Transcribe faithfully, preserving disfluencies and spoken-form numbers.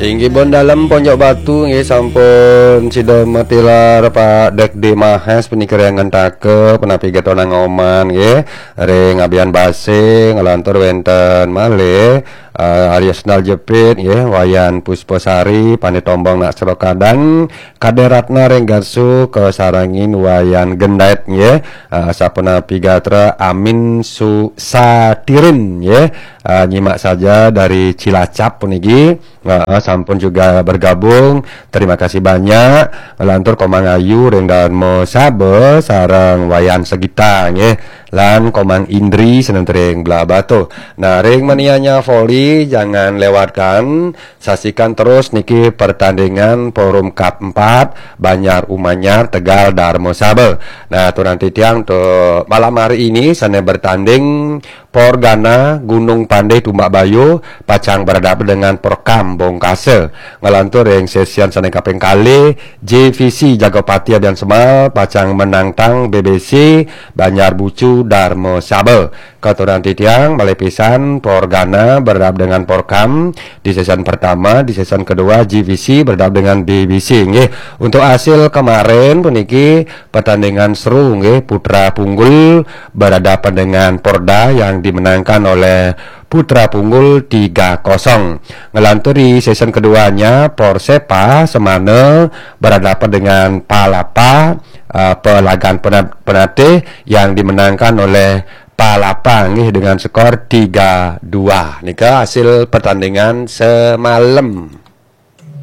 Inggih pun dalem Ponjok Batu nggih sampun sida matilar Pak Dekdi Mahes punika ring ngentaka punapi gatra nang oman nggih ring abian base nglantur wenten malih eh, Arya Sendal Jepit nggih Wayan Puspasari Pandit Tombong Nak Serokadan Kade Ratna ring Garsu kasarengin Wayan Gendet nggih eh, sapunapi gatra Amin Su Satirin nggih eh, nyimak saja dari Cilacap puniki. Heeh, sampun juga bergabung. Terima kasih banyak. Lantur Komang Ayu ring Dharma Saba sareng Wayan Segita nggih. Lan Komang Indri seneng ring Blahbatuh. Nah, ring Manianya Volley jangan lewatkan. Saksikan terus niki pertandingan Forum Cup empat Banjar Umanyar Tegal Dharma Saba. Nah, turan titiang untuk malam hari ini sana bertanding Porgana Gunung Pandai Tumbak Bayu pacang berhadapan dengan Porkam Bongkasa. Ngelantur ring sesi sane kaping kalih, J V C Jagapati Abian Semal pacang menantang B B C Banjar Bucu Dharma Saba. Katuran titiang malih pisan Porgana berhadapan dengan Porkam di sesi pertama, di sesi kedua J V C berhadapan dengan B B C. Nggih, untuk hasil kemarin puniki pertandingan seru nggih Putra Punggul berhadapan dengan Porda yang dimenangkan oleh Putra Punggul tiga kosong. Ngelantur di sesi keduanya Porsepa Semana berhadapan dengan Palapa uh, Pelagan Penat- Penatih yang dimenangkan oleh Palapa nggih dengan skor tiga dua. Nika hasil pertandingan semalam.